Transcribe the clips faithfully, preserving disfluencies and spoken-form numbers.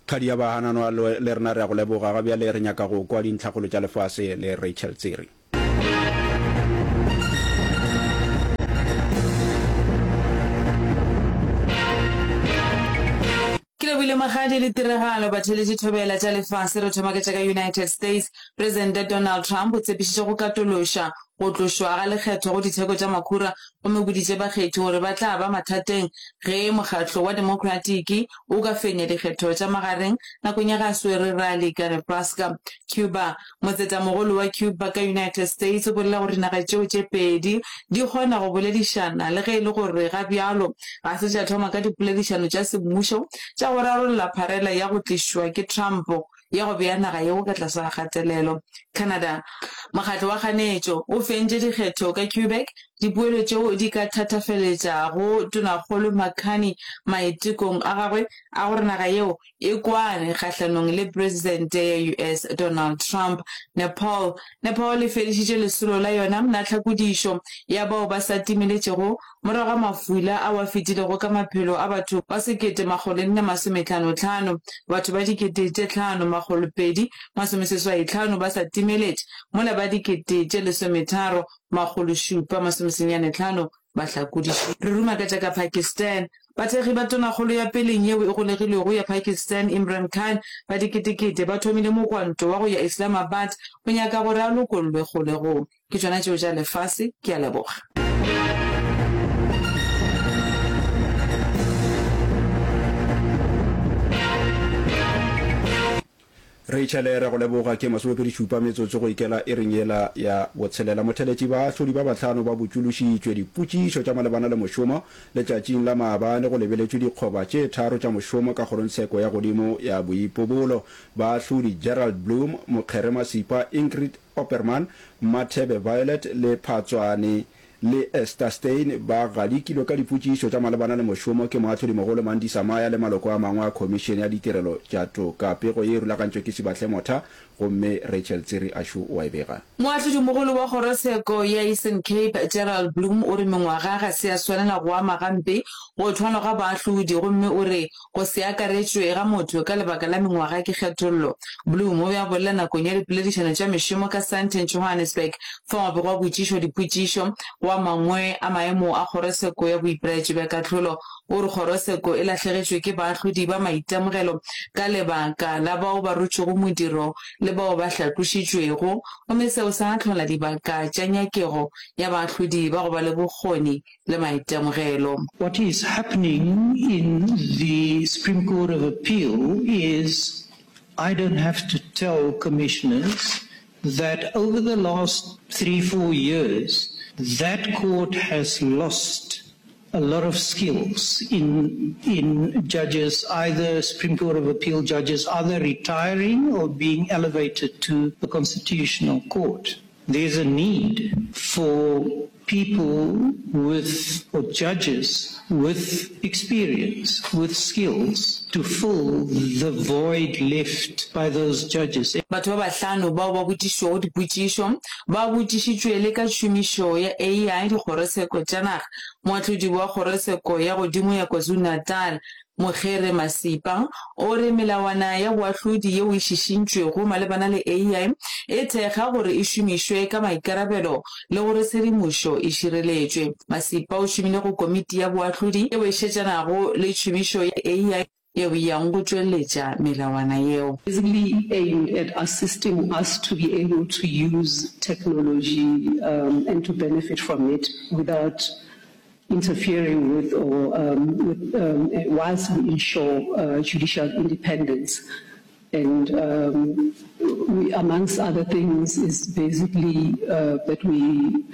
Kgadi ya Bahananwa le rena re a go leboga. Ga bjale re nyaka go kwa dintlhakgolo tša lefase le Rachel Tsiri. Ke lebohile Mokgadi le tiragalo batheeletši thobela tša lefase re thoma ka tša ka United States. Presidente Donald Trump o tshepišitše go katološa go tlošwa ga lekgetho go ditheko tša makhura gomme o boditše bakgethi gore ba tla ba mathateng ge mokgatlo wa Democratic o ka fenya dikgetho tša magareng nakong ya ge a swere rally ka Nebraska. Cuba, Motsetamogolo wa Cuba ka United States o bolela gore dinaga tšeo tše pedi di kgona go boledišana le ge e le gore ga bjalo ga se tša thoma ka dipoledišano tša semmušo tša go rarolla pharela ya go tlišwa ke Trump ya go bea naga yeo ka tlase ga kgatelelo. Canada, Mokgatlo wa kganetšo o fentše dikgetho ka Quebec, dipoelo tšeo di ka thatafeletšago Tonakgolo Mark Carney maitekong a gagwe a gore naga yeo e kwane kgahlanong le Presidente ya U S Donald Trump. Nepal, Nepal e fedišitše lesolo la yona la tlhakodišo ya bao ba sa timeletšego Morago ga mafula ao a fetilego ka maphelo a batho ba sekete makgolo nne masometlhano tlhano, batho ba dikete tše tlhano makgolo pedi masomeseswai tlhano ba sa timeletše, mola ba dikete tše lesometharo makgolo šupa masomesenyane tlhano ba hlakodišitšwe. Re ruma ka tša ka Pakistan. Bathekgi ba tonakgolo ya peleng yeo e golegilwego ya Pakistan, Imran Khan, ba diketekete ba thomile mogwanto wa go ya Islamabad go nyaka gore a lokollwe kgolegong. Ke tšona tšeo tša lefase. Ke a leboga. Rachel, Re go leboga. Ke masomepedi šupa metsotso go ikela iring yela ya botshelela. Motheletši, Baahlodi ba bahlano ba botšološitšwe dipotšišo tša malebana le mošomo letšatšing la maabane go lebeletšwe dikgoba tše tharo tša mošomo ka Kgorongtsheko ya Godimo ya Boipobolo. Baahlodi Gerald Bloom, Mokgere Masipa, Ingrid Opperman, Mmathebe Violet le Phatswane le Esther Steyn ba gadikilwe ka dipotšišo tša malebana le mošomo ke Moahlodimogolo Mandisa Maya le maloko a mangwe a Khomišene ya Ditirelo tša Toka. Pego ye e rulagantšwe ke Sibahle Motha gomme Rachel Tsiri Ashu o a e bega. Moahlodimogolo wa Kgorotsheko ya Eastern Cape, Gerald Bloom o re mengwaga ga se ya swanela go ama gampe go thwalwa ga baahlodi gomme o re Go se akaretšwe ga motho ka lebaka la mengwaga ke kgethollo. Bloom o be a bolela nakong ya dipoledišano tša mešomo ka Sandton, Johannesburg, fao go bego a botšišwa dipotšišo go a mangwe a maemo a kgorotsheko ya boipelaetšo bja kahlolo. O re kgorotsheko e lahlegetšwe ke baahlodi ba maitemogelo ka lebaka la bao ba rotšego modiro le bao ba hlatlošitšwego, gomme seo sa hlola dibaka tša nyakego ya baahlodi ba go ba le bokgoni le maitemogelo. What is happening in the Supreme Court of Appeal is I don't have to tell commissioners that over the last three, four years, that court has lost a lot of skills in, in judges, either Supreme Court of Appeal judges, either retiring or being elevated to the Constitutional Court. There's a need for people with, or judges with experience, with skills to fill the void left by those judges. Batho ba bahlano bao ba botšišwago dipotšišo ba botšišitšwe le ka tšhomišo ya A I dikgorotsheko tša naga. Moahlodi wa Kgorotsheko ya Godimo ya KwaZulu-Natal, Mokgere Masipa o re melawana ya boahlodi yeo e šišintšwego malebana le A I e thekga gore e šomišwe ka maikarabelo le gore tshedimošo e šireletšwe. Masipa o šomile go komiti ya boahlodi yeo e šetšanago le tšhomišo ya A I yeo e yago go tšweletša melawana yeo. Basically aimed at assisting us to be able to use technology and to benefit from it without interfering with or um, with, um, whilst we ensure uh, judicial independence. And um, we, amongst other things, is basically uh, that we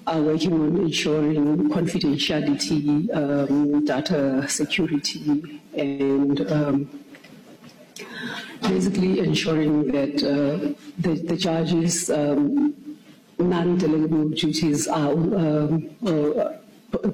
are working on ensuring confidentiality, um, data security, and um, basically ensuring that uh, the, the judges' um, non-delegable duties are um, uh,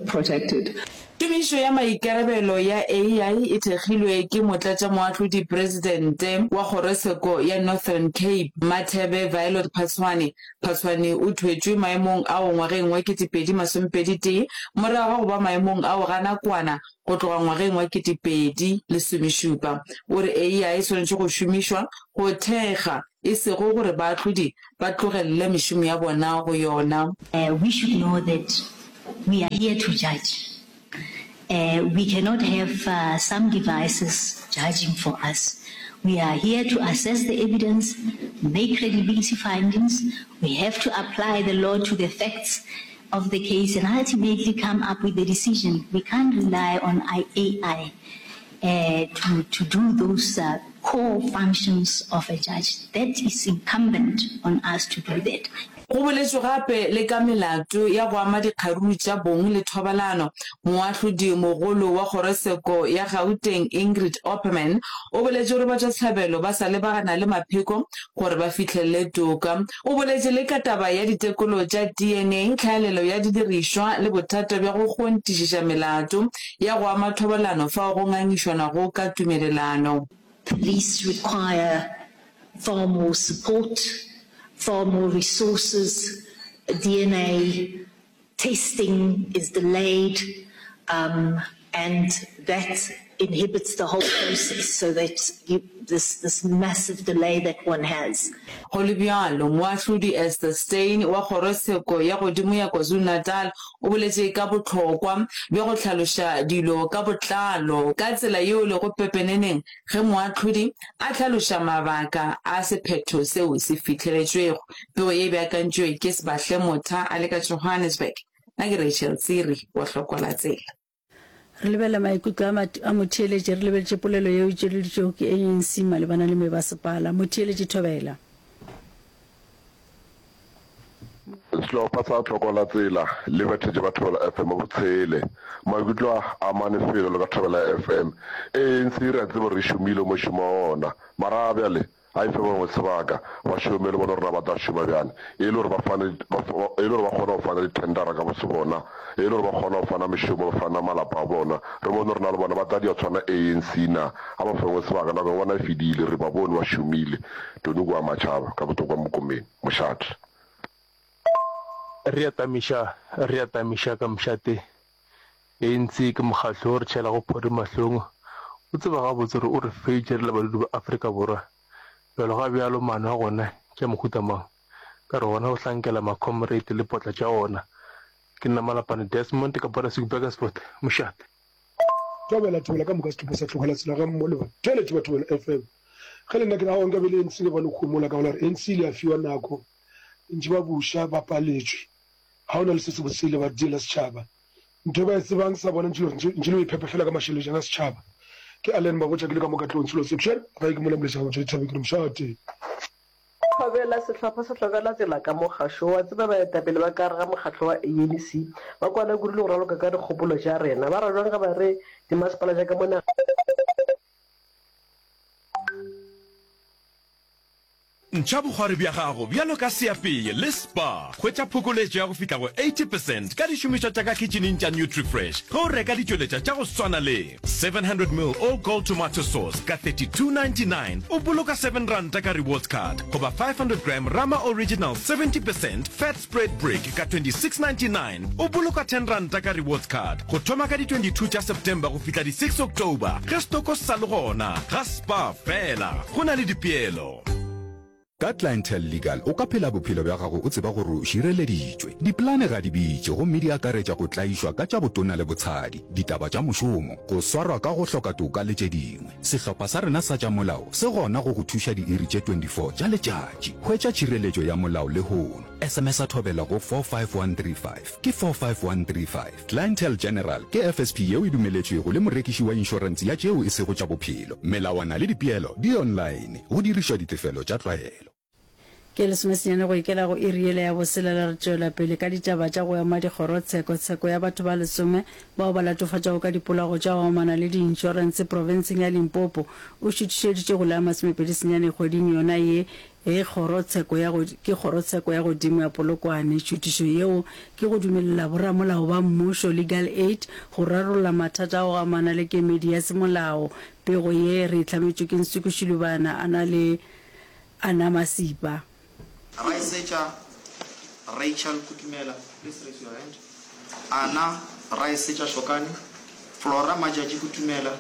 protected. Tumišo ya maikarabelo ya A I e thekgilwe ke Motlatšamoahlodi Presidente wa Kgorotsheko ya Northern Cape, Mmathebe Violet Phatshwane. Phatshwane o thwetšwe maemong ao ngwageng wa kete pedi masomepedi tee morago ga go ba maemong ao ga nakwana go tloga ngwageng wa kete pedi lesomešupa. O re A I e swanetše go šomišwa go thekga e sego gore baahlodi ba tlogelele mešomo ya bona go yona. We should know that we are here to judge. We cannot have some devices judging for us. We are here to assess the evidence, make credibility findings, we have to apply the law to the facts of the case and ultimately come up with a decision. We can't rely on A I to, to do those core functions of a judge. That is incumbent on us to do that. Go boletšwe gape le ka melato ya go ama dikgaruru tša bong le thobalano. Moahlodi mogolo wa kgorotsheko ya Gauteng Ingrid Opperman o boletše gore batšwasehlabelo ba sa lebagana le mapheko gore ba fihlelele toka. O boletše le ka taba ya ditekolo tša D N A, tlhaelelo ya didirišwa le bothata bja go kgontišiša melato ya go ama thobalano fao go ngangišwanago ka tumelelano. Police require far more support, far more resources, D N A testing is delayed, um, and that inhibits the whole process, so that you, this, this massive delay that one has. Go le bjalo, Moahlodi Esther Steyn wa Kgorotsheko ya Godimo ya KwaZulu-Natal o boletše ka bohlokwa bja go hlaloša dilo ka botlalo ka tsela yeo e lego pepeneneng ge moahlodi a hlaloša mabaka a sephetho seo se fihleletšwego. Pego ye e beakantšwe ke Sbahle Motha a le ka Johannesburg. Nna ke Rachel Tsiri wa Hlokwa la Tsela. Re lebelela maikutlo a a motheeletši re lebeletše polelo yeo e tšweleditšwego ke A N C malebana le mebasepala. Motheeletši Thobela. Sehlopha sa Tlhoko la Tsela le bethetše ba Thobela F M botshele. Maikutlo a amane felo le ka Thobela F M. A N C re a tseba gore e šomile mošomo wa ona, mara bjale a e fe ba bangwe sebaka ba šome le bona gore na ba tla šoma bjang e le gore ba fane e le gore ba kgone go fana dithendara ka bose bona, e le gore ba kgone go fana mešomo, ba fana malapa a bona, re bone gore na le bona ba tla dia tshwana A N C na. A ba fengwe sebaka, nako ya bona e fedile, re ba bone ba šomile. Tony kwa Matšhaba ka Botokwa Mokomeng, mošate. Re a tamiša, re a tamiša ka mošate. A N C ke mokgatlo o re tšhelago phori mahlong. O tseba gabotse gore o re feitše re le badudi ba Afrika Borwa. Bjalo ga bjalo maano a gona ke a mohuta mang? Ka re gona go hlankela ma-comrade le potla tša ona. Ke nna Malapane Desmond ka Botlasiku Burgersfort, mošate. Thobela, thobela ka moka sehlopha sa Tlogela Tsela ga mmogo le batheeletši ba Thobela F M. Ge le nna ke re aowa nka be le A N C le bone homola ka go la gore A N C ile ya fiwa nako ntši ba buša ba paletšwe ga ona le se sebotse se ile ba diela setšhaba ntho e ba e tsebang sa bona ntši le gore ntši le go iphepa fela ka mašelejana a setšhaba ke Allen Mabotja ke le ka mo Katlehong Selo Section gae ke mola Moleša ga Motšwa Dithabeng ke re mošate. Thobela, Sehlopha sa Tlogela Tsela ka mo gašo wa tseba baetapele ba ka gare ga mokgatlo wa A N C ba kwana kudu le go raloka ka dikgopolo tša rena. Ba ra bjang ge ba re dimasepala tša ka mo nageng Ntšha bokgwari bja gago bjalo ka seapei le Spar. Hwetša phokoletšo ya go fihla go eighty percent ka dišomišwa tša ka khitšhining tša Nutrifresh ge o reka ditšweletšwa tša go swana le seven hundred ml All Gold Tomato Sauce ka thirty two ninety nine o boloka seven ranta ka rewards card goba five hundred gram Rama Original seventy percent Fat Spread Brick ka twenty six ninety nine o boloka ten ranta ka rewards card go thoma ka di twenty two tša September go fihla di six October ge stoko se sa le gona ga Spar fela go na le dipeelo. Ka Clientele Legal o ka phela bophelo bja gago o tseba gore o šireleditšwe. Dipolane ga di bitše gomme di akaretša go tlaišwa ka tša botona le botshadi, ditaba tša mošomo, go swarwa ka go hloka toka le tše dingwe. Sehlopha sa rena sa tša molao se gona go go thuša diiri tše twenty four tša letšatši. Hwetša tšhireletšo ya molao lehono. S M S-a Thobela go four five one three five ke four five one three five. Clientele General ke F S P yeo e dumeletšwego le morekiši wa inšorense ya tšeo e sego tša bophelo. Melawana le dipeelo di online, go dirišwa ditefelo tša tlwaelo. Ke lesomesenyane go ikela go iri yela ya boselela re tšwela pele ka ditaba tša go ema dikgorotsheko. Tsheko ya batho ba lesome bao ba latofatšwago ka dipolao tša go amana le diinšorense profenseng ya Limpopo o šuthišeditšwe go la masomepedi senyane kgweding yona ye. e kgorotsheko ya go ke kgorotsheko ya godimo ya Polokwane. Tšhutišo yeo ke go dumelela boramolao ba mmušo, Legal Aid, go rarolla mathata a go amana le kemedi ya semolao. Pego ye re e hlametšwe ke Nsuku Shilubana a na le Anna Masipa. Raesetša Rachel Kutumela, please raise your hand. Anna Raesetša Shokane, Flora Majatši Kutumela,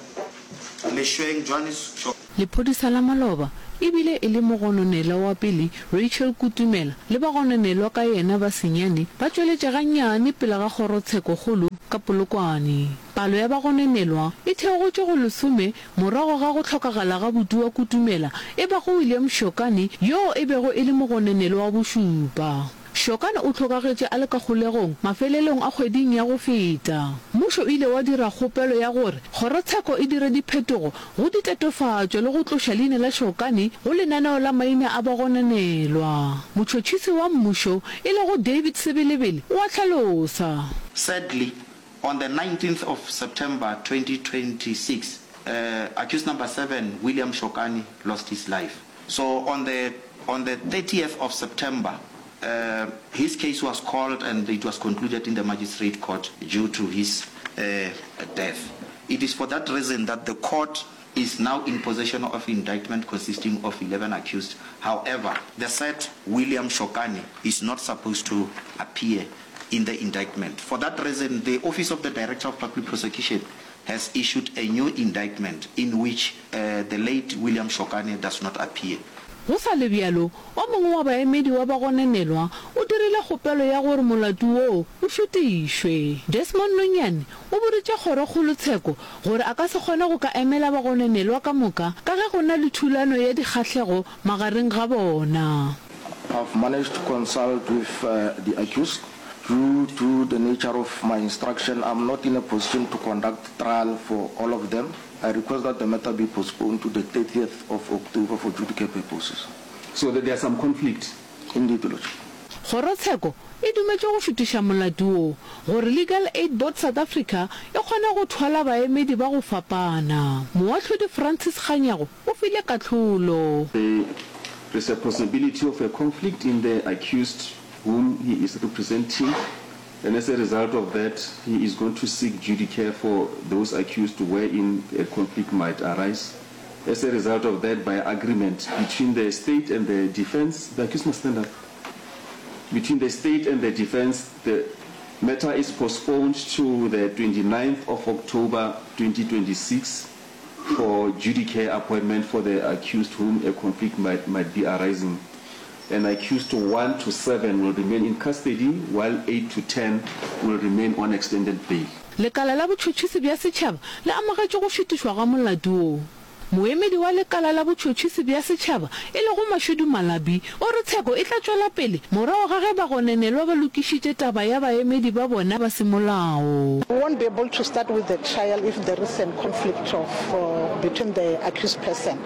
Lešweng Johannes Shokane. Lephodisa la maloba e bile e le mogononelwa wa pele Rachel Kutumela le bagononelwa ka yena ba senyane ba tšweletše gannyane pele ga kgorotshekokgolo ka Polokwane. Palo ya bagononelwa e theogotše go lesome morago ga go hlokagala ga buti wa Kutumela e bago William Shokane yoo e bego e le mogononelwa wa bošupa. Shokane o hlokagetše a le ka kgolegong mafelelong a kgweding ya go feta. Mmušo o ile wa dira kgopelo ya gore kgorotsheko e dire diphetogo go ditatofatšo le go tloša leina la Shokane go lenaneo la maina a bagononelwa. Motšhotšhisi wa mmušo e lego David Sebelebele o a hlalosa. Sadly, on the nineteenth of September twenty twenty six, accused number seven, William Shokane, lost his life. So on the on the thirtieth of September, his case was called and it was concluded in the magistrate court due to his death. It is for that reason that the court is now in possession of indictment consisting of eleven accused. However, the said William Shokane is not supposed to appear in the indictment. For that reason, the Office of the Director of Public Prosecution has issued a new indictment in which the late William Shokane does not appear. Go sa le bjalo, o mongwe wa baemedi wa bagononelwa o dirile kgopelo ya gore molato woo o šutišwe. Desmond Nonyane o boditše kgorokgolotsheko gore a ka se kgone go ka emela bagononelwa ka moka ka ge go na le thulano ya dikgahlego magareng ga bona. I've managed to consult with the accused. Due to the nature of my instruction, I'm not in a position to conduct trial for all of them. I request that the matter be postponed to the thirtieth of October for judicare purposes. So that there's some conflict. Indeed, Your Lordship. Kgorotsheko e dumetše go šutiša molato wo gore Legal Aid Board South Africa e kgone go thwala baemedi ba go fapana. Moahlodi Francis Kganyago o file kahlolo. There is a possibility of a conflict in the accused whom he is representing and as a result of that he is going to seek judicare for those accused wherein a conflict might arise. As a result of that, by agreement between the state and the defense, the accused must stand up. Between the state and the defense, the matter is postponed to the twenty-ninth of October twenty twenty-six for judicare appointment for the accused whom a conflict might, might be arising. And accused one to seven will remain in custody while eight to ten will remain on extended bail. Lekala la Botšhotšhisi bja Setšhaba le amogetše go šutišwa ga molato wo. Moemedi wa Lekala la Botšhotšhisi bja Setšhaba e lego Mashudu Malabi o re tsheko e tla tšwela pele morago ga ge bagononelwa ba lokišitše taba ya baemedi ba bona ba semolao. We won't be able to start with the trial if there is an conflict of between the accused person.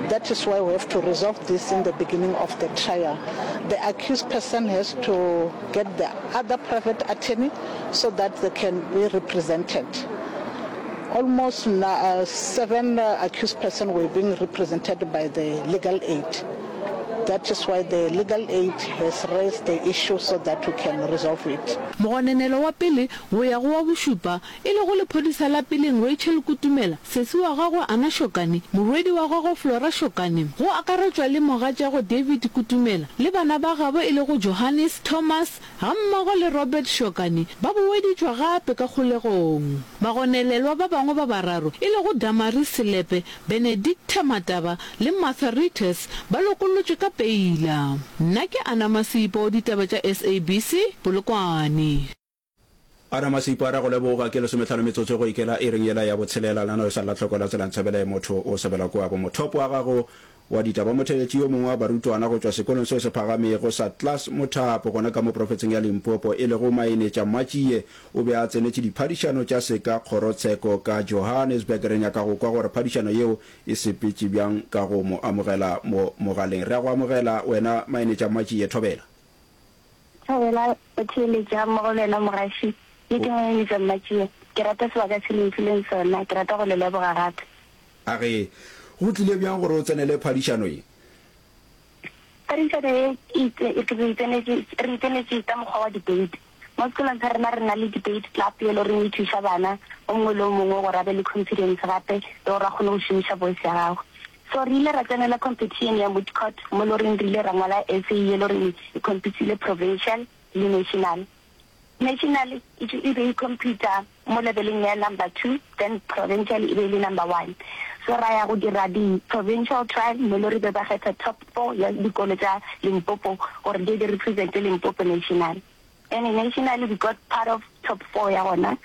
That is why we have to resolve this in the beginning of the trial. The accused person has to get the other private attorney so that they can be represented. Almost seven accused person were being represented by the legal aid. That is why the legal aid has raised the issue so that we can resolve it. Mogononelwa wa pele go ya go wa bošupa, e lego lephodisa la peleng Rachel Kutumela, sesi wa gagwe Anna Shokane, morwedi wa gagwe Flora Shokane, go akaretšwa le mogatšagwe David Kutumela le bana ba gabo e lego Johannes, Thomas gammogo le Robert Shokane ba boeditšwa gape ka kgolegong. Bagonelelwa ba bangwe ba bararo e lego Damaris Selepe, Benedicta Mataba le Martha Rieters ba lokollotšwe ka peila. Nna ke Anna Masipo, ditaba tša S A B C, Polokwane. Anna Masipo a re go leboga ke lesometlhano metsotso go ikela iring yela ya botshelela lenaneo sa la tlhoko la tsela ntshebele motho o sebela kua bo mothopo wa gago wa ditaba. Motheeletši yo mongwe wa barutwana go tšwa sekolong seo se phagamego sa Klaas Mothapo gona ka mo profetseng ya Limpopo e lego Mainetša Matjie o be a tsenetše diphadišano tša seka kgorotsheko ka Johannesburg. Re nyaka go kwa gore phadišano yeo e sepetše bjang ka go mo amogela mo mogaleng. Re a go amogela wena Mainetša Matjie. Thobela. Thobela, Motheeletši gammogo le wena mogaši. Ye ke Mainetša Matjie. Ke rata sebaka se le mfileng sona. Ke rata go le leboga gape. A re, Go tlile bjang gore o tsenele phadišano ye? Phadišano ye e re tsenetše re tsenetše ka mokgwa wa debate. Mo sekolong sa rena re na le debate club ye le goreng e thuša bana o mongwe le o mongwe gore a be le confidence gape le gore a kgone go šomiša voice ya gagwe. So re ile ra tsenela competition ya moot court mo le goreng re ile ra ngwala essay ye le goreng e competile provincial le national. National e e be e competa mo leveleng ya number two then provincial e be e le number one. So ra ya go dira di provincial trial mo le re be ba kgetha top four ya dikolo tša Limpopo gore di di represente Limpopo national. And nationally we got part of top four ya gona.